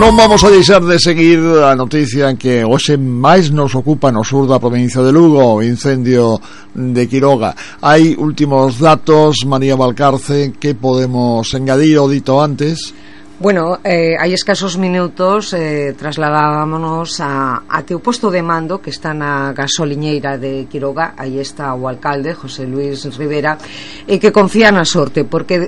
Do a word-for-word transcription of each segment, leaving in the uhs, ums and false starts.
non vamos a deixar de seguir a noticia en que hoxe máis nos ocupa no sur da provincia de Lugo, o incendio de Quiroga. Hai últimos datos, María Valcarce, que podemos engadir ao dito antes? Bueno, eh, hai escasos minutos eh, trasladámonos a, a que o posto de mando que está na gasoliñeira de Quiroga. Aí está o alcalde, José Luis Rivera, e que confía na sorte, porque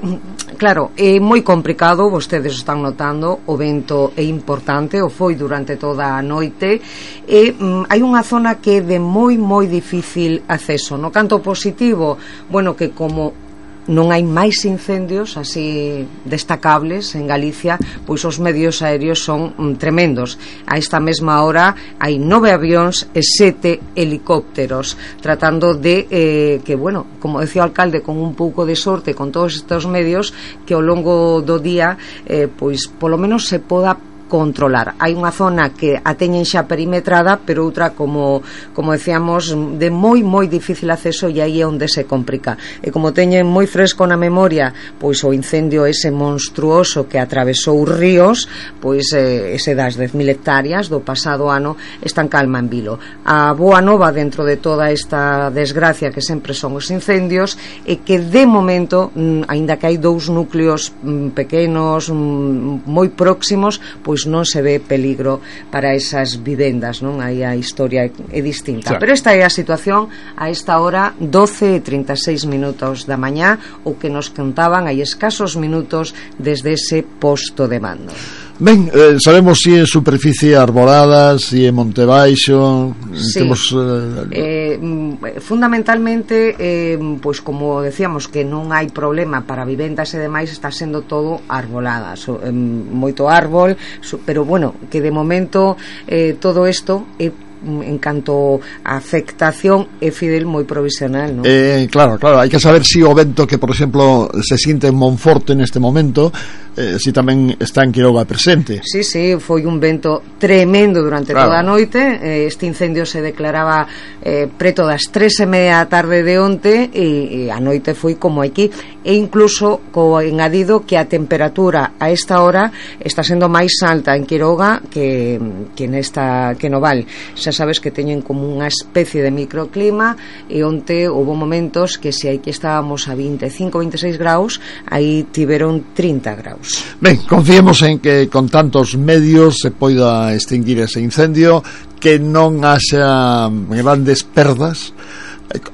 claro, é moi complicado, vostedes están notando, o vento é importante, o foi durante toda a noite, e mm, hai unha zona que é de moi moi difícil acceso. No canto positivo, bueno, que como non hai máis incendios así destacables en Galicia, pois os medios aéreos son mm, tremendos. A esta mesma hora hai nove avións e sete helicópteros tratando de eh, que, bueno, como decía o alcalde, con un pouco de sorte, con todos estes medios, que ao longo do día eh, pois polo menos se poda controlar. Hai unha zona que a teñen xa perimetrada, pero outra, como como decíamos, de moi moi difícil acceso, e aí é onde se complica. E como teñen moi fresco na memoria pois o incendio ese monstruoso que atravesou os ríos, pois eh, ese das dez mil hectáreas do pasado ano, están calma en vilo. A boa nova dentro de toda esta desgracia que sempre son os incendios é que de momento, aínda que hai dous núcleos pequenos moi próximos, pois non se ve peligro para esas vivendas, non? Aí a historia é distinta. Claro. Pero esta é a situación a esta hora, doce e trinta e seis minutos da mañá, o que nos contaban hai escasos minutos desde ese posto de mando. Ben, eh, sabemos si en superficie arborada, si en monte baixo, sí. Temos, eh... Eh, fundamentalmente eh, pois como decíamos que non hai problema para vivendas e demais, está sendo todo arbolada, so, eh, moito árbol, so, pero bueno, que de momento eh, todo isto é en canto a afectación é Fidel moi provisional, non? Eh, claro, claro, hai que saber si o vento que, por exemplo, se siente en Monforte neste momento, eh, si tamén está en Quiroga presente. Sí, sí, foi un vento tremendo durante claro. toda a noite. eh, este incendio se declaraba eh, preto das tres e media da tarde de onte, e, e a noite foi como aquí, e incluso co engadido que a temperatura a esta hora está sendo máis alta en Quiroga que, que nesta que no Val. Xa sabes que teñen como unha especie de microclima, e onte houve momentos que se aí que estábamos a veinticinco, veintiséis graus, aí tiveron trinta graus. Ben, confiemos en que con tantos medios se poida extinguir ese incendio, que non haxa grandes perdas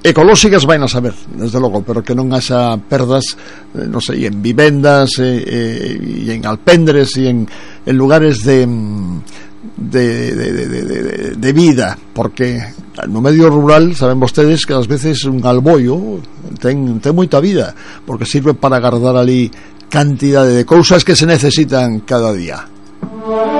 ecolóxicas, vai a saber, desde logo, pero que non haxa perdas, non sei, en vivendas e, e, e en alpendres e en, en lugares de De, de, de, de, de vida, porque no medio rural saben vostedes que ás veces un alboio ten, ten moita vida, porque sirve para guardar ali cantidade de cousas que se necesitan cada día.